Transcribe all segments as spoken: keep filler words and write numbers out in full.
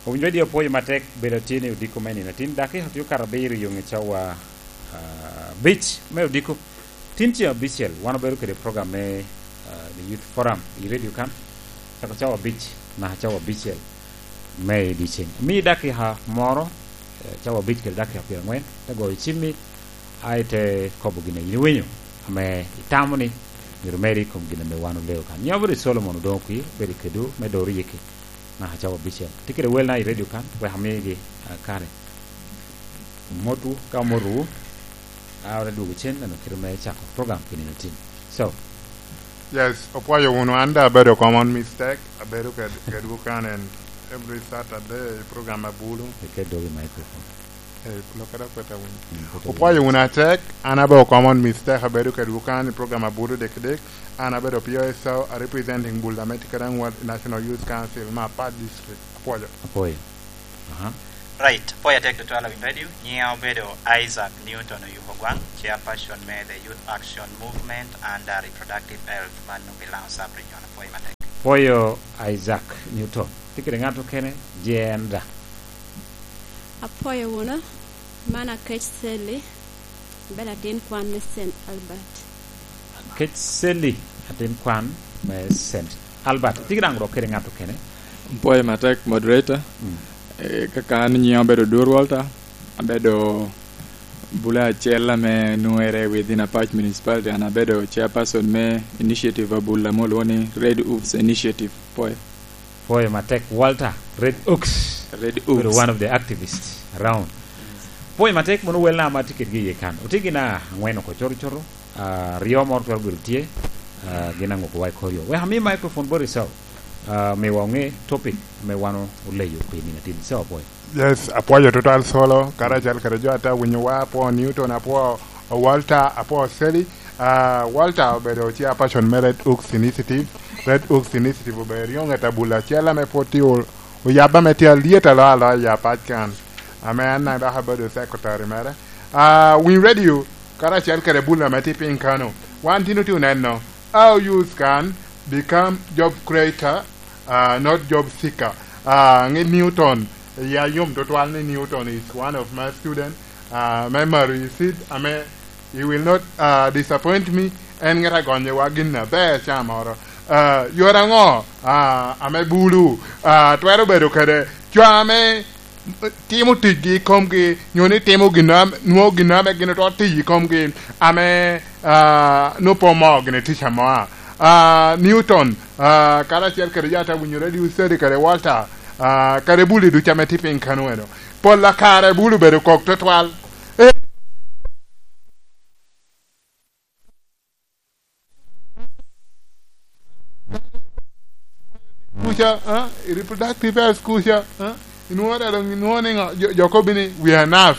Owinjo di opwoyo matek bedo tye ni odiko me nino. Tin dakika tye okato abiro i yoŋe cawa, ah, abic me odiko. Tin ceŋ abicel, wan obedo kede program me, ah, the Youth Forum i radio kan, cako cawa abic naka cawa abicel me i dyeceŋ. Mi dakika moro, eh, cawa abic kede dakika pyeraŋwen, te goyo cimmi, a ite kobo gin a in iwinyo, ame itamo ni myero meri i kom gin ame wan oleo kan. Nyiŋa obedo Solomon Odoŋo Kwir, obedo kedwu me Doro Yiki, naka cawa abicel. Tye kede welna i radio kan, wek amigi, ah, kare. Motwu, ka omotowu, a, ote dwogo cen, neno kite me cako program pi nino tin. So. Yes, opwoyo wunu, an da abedo common mistake, abedo ked-, kedwu kan en every Saturday, program Abulu. Iket dogi microphone. Eh, lokere akweta wunu. Mm, kweta wunu. Opwoyo wunu atek, an abedo common mistake, abedo kedwu kan i program Abulu dek dek, an abedo P O S O, a representing Bula me Tikaraŋ Ward National Youth Council, me Apac District. Apwoyo. Apwoyo. Aha. Right. Apwoyo atek tutwal, Awiny Radio. Nyiŋa obedo Isaac Newton Oyuko Gwaŋ, chairperson me the Youth Action Movement under Reproductive Health, man onwoŋo pi Laŋo Sub Region. Apwoyo matek. Apwoyo Isaac Newton. Tye kede ŋat okene? Jenda. Apwoyo wunu. Man Akec Sally. Bed atin kwan me Saint Albert. Kec Sally, atin kwan me Saint Albert. Tye daŋ dok kede ŋat okene? Pwoyo matek, moderator. Mm. Eh, kaka an nyiŋa obedo Odur Walter, abedo bula acel ame nwoŋere within Apac Municipality, and abedo chairperson me initiative Abula ame olwoŋo ni Red Oaks Initiative. Pwoyo. Pwoyo matek, Walter, Red Oaks. Red Oaks. Obedo one of the activists around. Pwoyo matek mono welna ama tye kedgi iye kan. Otye gin aŋwen oko coto coto, ah, aryo moro twero bedo tye, ah, gin aŋuko wa i koryo. Wek ami microphone boti, so, ah, miwa oŋe topic me wan oleyo pi nino atin. So, apwoyo. Yes, apwoyo tutwal Solo, karacel kede jo ate awinyo wa, apwoo Newton, apwoo Walter, apwoo Sally. Ah, Walter obedo chairperson me Red Oaks Initiative. Red Oaks Initiative obedo eryoŋet Abula acel ame pwod tye o-, oyabbe ame tye alyet aloyo aloya i Apac kan, ame an daŋ dok abedo secretary mere. Ah, Winy Radio, karacel kede Bula ame tye piny kano, wan tin otye oneno, our youth can become job creator, ah, not job seeker. Ah, ŋe Newton, ya yom tutwal ni Newton is one of my student, ah, me Maro Isid, ame he will not, ah, disappoint me, en ŋet agonyewa gin aber ca moro. Ah, yore aŋo, ah, ame Bulu, ah, twero bedo kede co ame timo ticgi i komgi, nyo ni timo gin am-, nwoŋo gin ame gin oto tiyo i komgi, ame, ah, nwoŋo pe omoo gini tic amo? Ah, Newton, ah, karacel kede jo ate winyo Radio City kede Walter, ah, kede Bulu ducu ame tye piny kano eno. Pol a kare Bulu bedo kok tutwal. Eh, kuca, ah, i reproductive health kuca, ah, inwoŋo dada, inwoŋo ni ŋo, jo, jo kobo ni, "We are enough."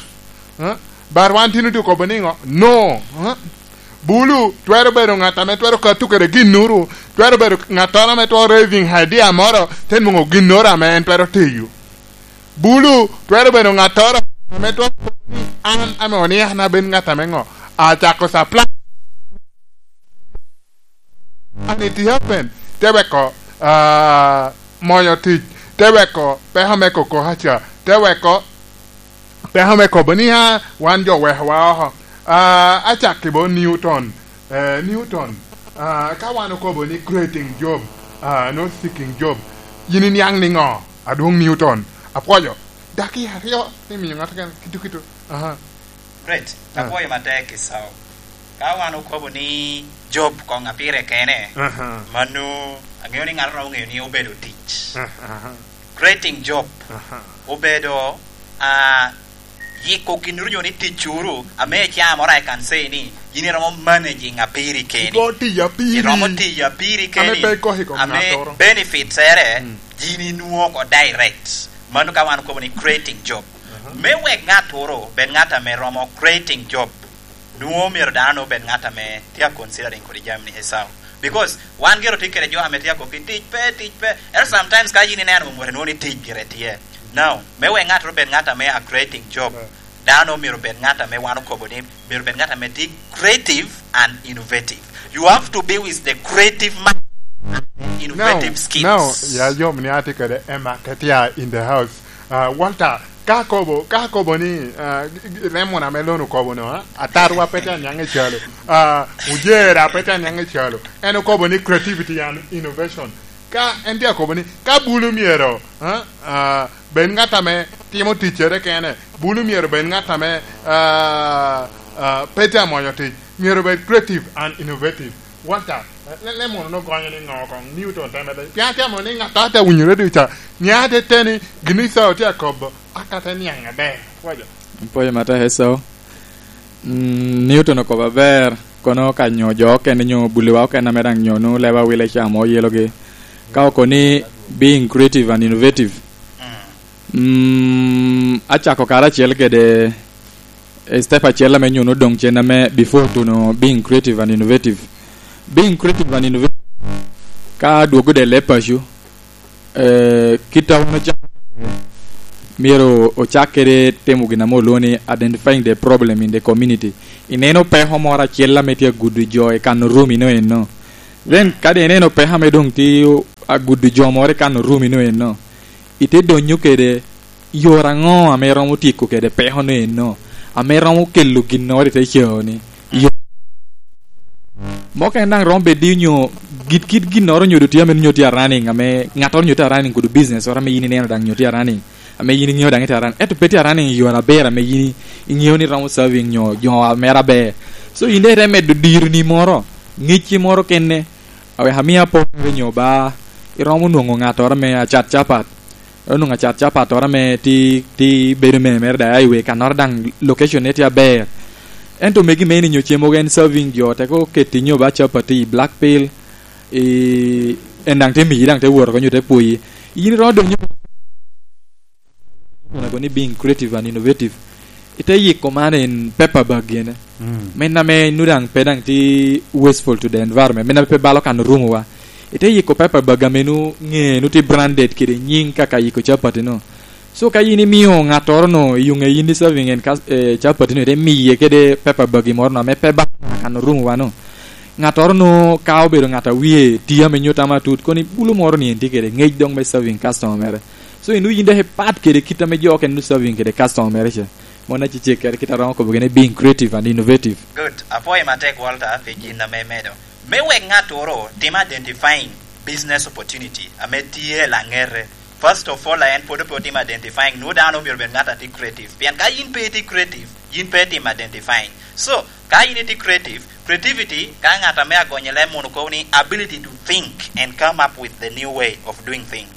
Ah, but wan tin otye kobo ni ŋo? No. Ah, Bulu twero bedo ŋat ame twero kato kede ginnoro, twero bedo ŋattoro ame twero raising idea moro, te nwoŋo ginnoro ame en twero tiyo. Bulu twero bedo ŋattoro ame twero kobo ni, "An ame oni, an abed ŋat ame ŋo? Acako supply." And it happened. Te weko, ah, moyo tic. Te weko peko me koko aca. Te weko peko me kobo ni, "Ah, wan jo wekowa oko." Ah, acakki bo Newton. Eh, Newton, ah, ka wan okobo ni creating job, ah, not seeking job, yin iniaŋ niŋo? Adwoŋ Newton, apwoyo. Dakika aryo, ni miyo ŋat keken, kitu, kitu. Aha. Great. Ah. Apwoyo matek i Sawa. Ka wan okobo ni job koŋ a pire kene, aha, mano aŋeyo ni ŋat oromo ŋeyo ni obedo tic. Ah, aha. Creating job, aha, obedo, ah, yiko ginnoro nyo ni ticcuru, ame icaa moro I can say ni yin iromo managing a piri keni. Igo tiyo a piri. Iromo tiyo a piri keni. Ame pe ikoki i kom ŋattoro. Ame benefits ere, mm, yin inwoŋo oko direct. Mano ka wan okobo ni creating job. Aha. Me wek ŋattoro obed ŋat ame romo creating job, nwoŋo myero dano obed ŋat ame tye a considering kodi jami ni Esau. Because wan gero tye kede jo ame tye a kok ni tic pe, tic pe. Ento sometimes ka yin ineno mot, nwoŋo ni tic gire tye. Now, me wek ŋattoro obed ŋat ame a creating job, right, dano myero obed ŋat ame wan okobo ni myero obed ŋat ame tye creative and innovative. You have to be with the creative mind and the Innovative skills. Now, ya yom ni atye kede Emma Ketia in the house. Ah, Walter, ka kobo, ka kobo ni, ah, g-, g-, remon ame lono kobo no, ah, atarwa pe tye aniaŋ i calo. Ah, ojera pe tye aniaŋ i calo. En okobo ni creativity and innovation. Ka en tye akobo ni, ka bulu myero, ah, ah, bed ŋat ame timo ticcere kene, bulu myero bed ŋat ame, ah, ah, pe tye amwonyo tic, myero bed creative and innovative. Walter, le-, le mono ogonyo ni ŋo koŋ Newton teme de? Pien atye amony ni ŋat a te winyo redio ca, nia te te ni gin Icao tye akobo, aka te niaŋ aber. Waco. Pwoyo matek, Esau. Mm, Newton okobo aber, kono ka nyo jo okene nyo buliwa okene ame daŋ nyo nwoŋo leba wile ca mo yelogi. Ka oko ni being creative and innovative. Mm, acako karacel kede, eh, step acel ame nyo nwoŋo doŋ cen ame before tuno being creative and innovative. Being creative and innovative, ka dwogo de le paco, eh, kit a wan ocako, myero ocak kede timo gin ame olwoŋo ni identifying the problem in the community. Ineno peko moro acel ame tye agudo jo i kano rumi no eno. Then, kadi ineno peko ame doŋ tye agudo jo moro i kano rumi no eno, ite donyo kede yore aŋo ame romo tyeko kede peko no eno, ame romo kelo ginnoro i te coo ni? Yo-, moko en daŋ romo bedo ni onyo git, kit ginnoro onyo doŋ tye ame nyo tye a running, ame ŋattoro nyo tye a running kudu business oro ame yin ineno daŋ nyo tye a running, ame yin iŋeo daŋ itye a running, ento pe tye a running i yore aber ame yin iŋeo ni romo serving nyo jo mere aber. So, yin daŋ ite medo dironi moro, ŋecci moro kene, awek amio apor nyo ba iromo nwoŋo ŋattoro ame acat capat. Onwoŋo acat capattoro ame ti, ti bedo mere mere daŋ i wee kannoro daŋ location ne tye aber. Ento megi meni nyo ce mogo en serving jo, teko keti nyo ba capati i Blackpill, i, en daŋ te miyi daŋ te wot oko nyo te pwoyi. Yin iromo donyo ni being creative and innovative. Ite yiko man in paper bag gene. Mm. Men ame nu daŋ pe daŋ ti wasteful to the environment. Men ame pe balo kan rumo wa. Ite yiko paper bag ame nu ŋe, nu ti branded kede nyiŋ kaka yiko capati no. So ka yin imio ŋattoro no, i yuŋe yin i serving en kas-, eh, capati no, ite miye kede paper bag moro no, ame pe balo kan rumo wa no. Ŋattoro no ka obedo ŋat a wie tye ame nyuto ama tut, koni bulu moro ni en tye kede ŋec dok me serving customer mere. So, in yin dok ipat kede kit ame jo okene serving kede customer mere ca. Mon acecek kede kit a romo kobo gene being creative and innovative. Good. Apwoyo matek, Walter, pi gin ame imedo. Me wek ŋattoro tim identifying business opportunity ame tye i laŋete. First of all, en pwod pe otim identifying. Nwoŋo dano myero bed ŋat a tye creative. Pien ka yin pe itye creative, yin pe itim identifying. So, ka yin itye creative, creativity, ka ŋat ame agonye leb mono kobo ni ability to think and come up with the new way of doing things.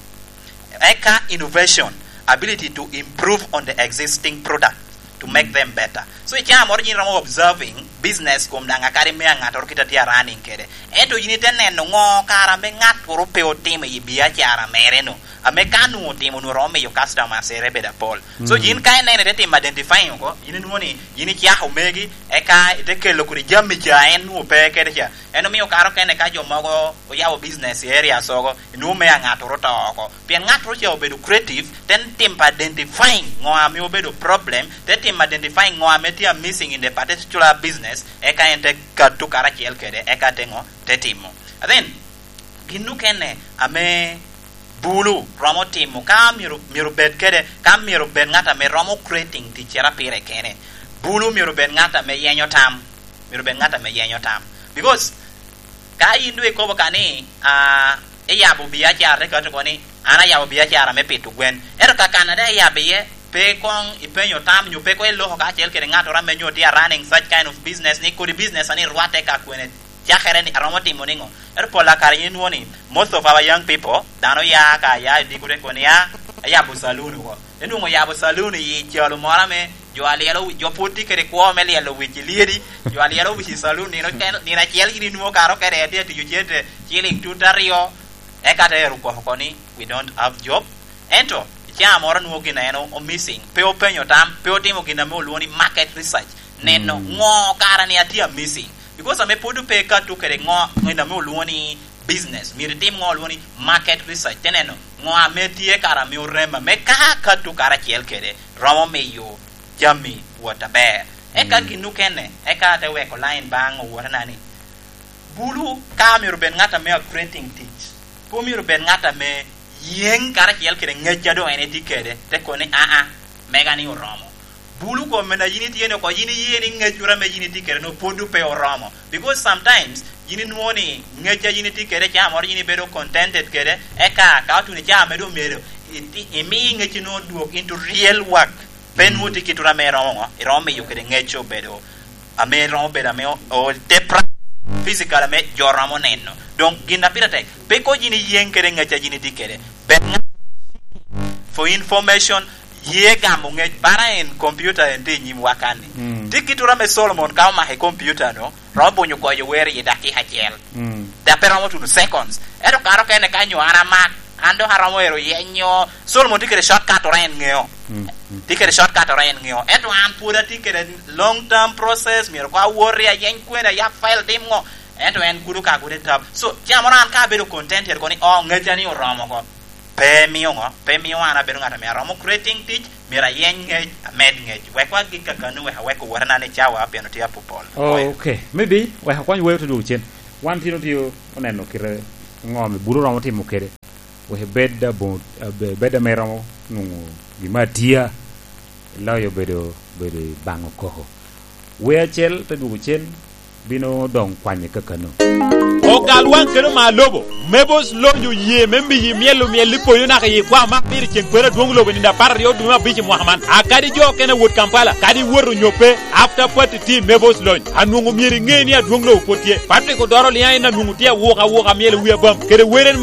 Eka innovation, ability to improve on the existing product to make them better. So, i caa moro yin romo observing business kom daŋ akadi me aŋattoro kit a tye a running kede. Ento yin ite neno ŋo kara ame ŋattoro pe otimo i biacara mere no, ame ka nwoŋo otimo, nwoŋo romo miyo customers ere bedo apol. So, mm, yin ka ineno ite timo identifying oko, yin inwoŋo ni yin icako megi, eka ite kelo kodi jami ca en nwoŋo pe kede ca. En omio kara okene ka jo mogo oyabo business i area sogo, inwoŋo me aŋattoro to oko. Pien ŋattoro ca obedo creative, te timo identifying ŋo ame obedo problem, te timo identifying ŋo ame tye a missing in the particular business, eka en te kato karacel kede, eka te ŋo, te timo. And then, gin okene ame bulu romo timo, ka myero, myero bed kede, ka myero bed ŋat ame romo creating ticcere pire kene, bulu myero bed ŋat ame yenyo tam, myero bed ŋat ame yenyo tam. Because ka yin doŋ ikobo ka ni, ah, iyabo biacara, te kati oko ni, "An ayabo biacara me pito gwen." Ento ka kan a daŋ iyabo iye, pe koŋ ipenyo tam, nyo pe koŋ iloko kacel kede ŋattoro ame nyo tye a running such kind of business, ni kodi business ani rwatte ka kwene, cakere ni aromo timo niŋo? Ento pol a kare yin inwoŋo ni, most of our young people, dano ya ka ya i diko te kono ni, "Ah, ayabo saloon oko." Enwoŋo yabo saloon i calo moro ame jo alyelo wi-, jo pwod tye kede kwo me lyelo wic i lyedi, jo alyelo wic i saloon nino ken-, nino acel gin inwoŋo kare okene tye atiyo cente ciling tut aryo, eka te ero kwako oko ni, "We don't have job." Ento, i caa moro nwoŋo gin eno o missing, pe openyo tam, pe otimo gin ame olwoŋo ni market research, neno, mm, ŋo kara ni atye a missing. Because ame pwod pe ekato kede ŋo, gin ame olwoŋo ni business, myero itim ŋo olwoŋo ni market research, te neno ŋo ame tye kara ame orema, me ka akato karacel kede, romo miyo jami wot aber. Eka, mm, gin okene, eka ate weko line baŋ owotena ni, bulu ka myero bed ŋat ame a creating tic, Pe omyero bed ŋat ame yeŋ karacel kede ŋec a doŋ en etye kede, te kono ni, "Aa, mega ni oromo." Bulu kome na yin itye ni oko, yin iye ni ŋec ame yin itye kede no pwod pe oromo. Because sometimes yin inwoŋo ni ŋec a yin itye kede, caa moro yin ibedo contented kede, eka ka otuno i caa me doŋ myero iti-, imi ŋec ino odwog into real work. Pe nwoŋo tye kit ame iromo ŋo, iromo miyo kede ŋec obedo, ame iromo bedo ame o-, o-, te pra-, physical ame jo romo neno. Doŋ gin a pire tek, pe ko yin iyeŋ kede ŋec a yin itye kede. Bed ŋat, for information, ye gamo ŋec, bara en computer en tye i nyimwa kan-ni. Mm. Tye kit ame Solomon ka omako i computer no, romo bunyo goyo wer i dakika acel. Mm. Dok pe romo tuno seconds. Ento kare okene ka nyo an amak, an dok aromo ero yenyo. Solomon tye kede shortcut ora en ŋeo. Mm, mm. Tye kede shortcut ora en ŋeo. Ento an pwod atye kede long term process, myero ko awoti ayeny kwene, ayab file, tim ŋo. Ento en gudo ka gudo i tab. So, caa moro an ka abedo contented kono ni, "Oh, ŋeca ni oromo oko." Pe mio ŋo? Pe mio an abedo ŋat ame aromo creating tic, myero ayeny ŋec, amed ŋec. Wek wagik kakano, wek awek owotena ni cawa pien otye apopol. Oh, okay. Maybe, wek akwany weo te dwogo cen. Wan tino tye oneno kite ŋo ame bulu romo timo kede. Wek ebed aboŋo, abe-, ebed ame romo nwoŋo gin me atia, loyo bedo, bedo i baŋo koko. Wee acel te dwogo cen, bino doŋ kwanye kakano. Ogal waŋ kede oma lobo, Mabos Lony oye me miyi myel omyel i poyo naka i kwa ma pire ceŋ kwero adwoŋ lobo i nino apar aryo dwe me abic i mwaka man. A kadi jo okene awot Kampala, kadi iwoto onyo pe, after party team Mabos Lony, anwoŋo myero iŋe ni adwoŋ lobo pwod tye. Patrick Odoro Liaŋ en anwoŋo tye awuka awuka myel i wi abam, kede wer en